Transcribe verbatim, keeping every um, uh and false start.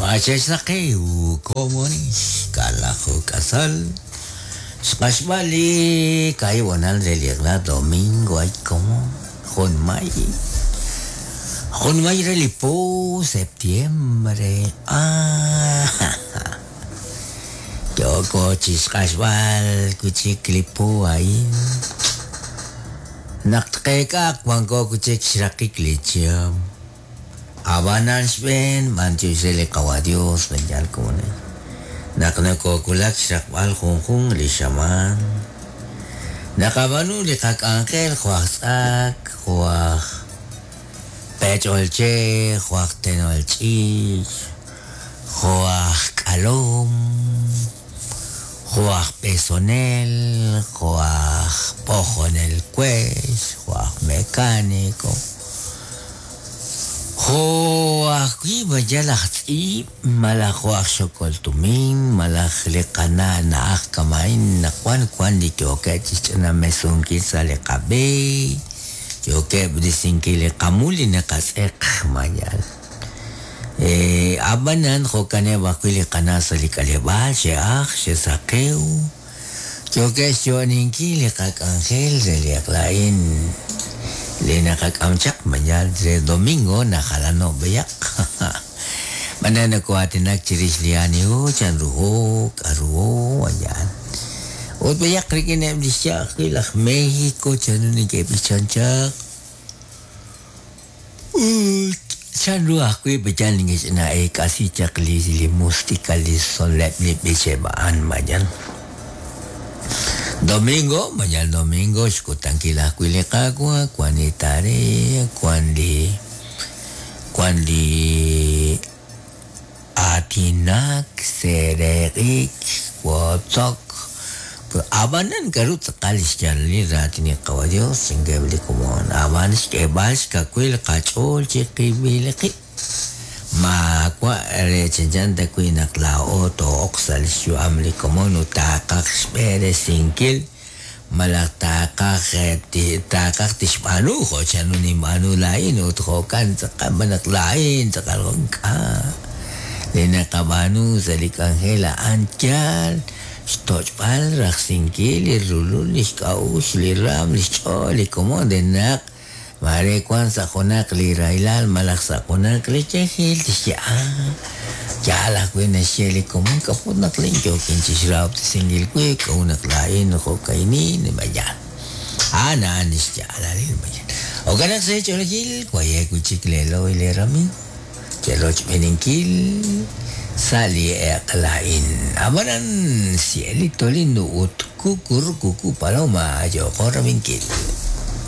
Machexsaqew komonix kalajo kasal xqaxb'ali kaibonal re liqla domingo ay como junmay junmay re li po septiembre ah yoko chixqaxb'al kuchik li po ain naqtqeek'aq wanko kuchik xraqik li chihab' abanan xb'een manchux re li qawa Dios benyal komonil naq nakokulak xraqb'al junjun li xamaan naqab'anu li qak'anjel juaj tz'ak juaj pech'olche juaj tenolch'ich juaj k'alom juaj pesonel juaj pojonel kuex juaj mecánico juaj wi bayal aj tz'iib' malaj juaj xokoltumin malaj li qana' na'aj kamain naqwan wan li yookeb' chixch'ina mesunkil sa' li qab'e yookeb' risinkil li qamul li naqatz'eq mayal eh ab'anan jo'kaneb' ajwi' li qana' sa' li k'aleb'aal xe'aj xe'saqew yookeb' xyo'ninkil li qak'anjel re li aqla'in li naqak'am chaq mañal re domingo najalano b'eyaq b'ana nako'aatinak chirix li anihu chanruho k'aruho ayan ut b'eyaq rik'ineb' li xya'aj wi' laj México chanru neke'b'ichan chaq ut chanru ajwi' b'eyal neke'ch'ina eek'asi chaq li li música li sonleb' li b'icheb' a'an mañal domingo, mañana domingo, xkutankil ajwi' li Qaawa', wan li tarea, wan li wan li aatinak, sereq'ik, wotzok. Ab'anan k'aru tz'aqal xyaalil raatin li Qawa Dios chinkeb' li komon, ab'an xk'eeb'al xkawil qach'ool chiqib'il qib'. Maawa' re chanchan ta wi' naq laa'o too'oq sa' li xyu'am li komon ut taaqaj xb'eresinkil malaj taaqaj taaqaj tixb'aanu jo' chanru ninb'aanu laa'in ut jo'kan tz'aqal naq laa'in tz'aqal jo'k'a' li naqab'aanu sa' li k'anjel a'an yaal xtoch'b'al rajsinkil li rulul li xk'a'uxl li raam li xch'ool li komon de naq mare wan sa' junaq li rahilal malaj sa' junaq li yajel tixye ah yaal ajwi' naxye li komon k'a'ut naq lin yookin chixrahob'tesinkil wib' k'a'ut naq laa'in jo'ka'inin mayal a'an a'an li xyaalalil mayal jo'kan naq sa' ch'oolejil wayek wi' chik leeloy leeramiiw cherochb'eninkil sa' li eq'la'in ab'anan cielito lindo ut kukurkuku paloma yooqo rabinkil.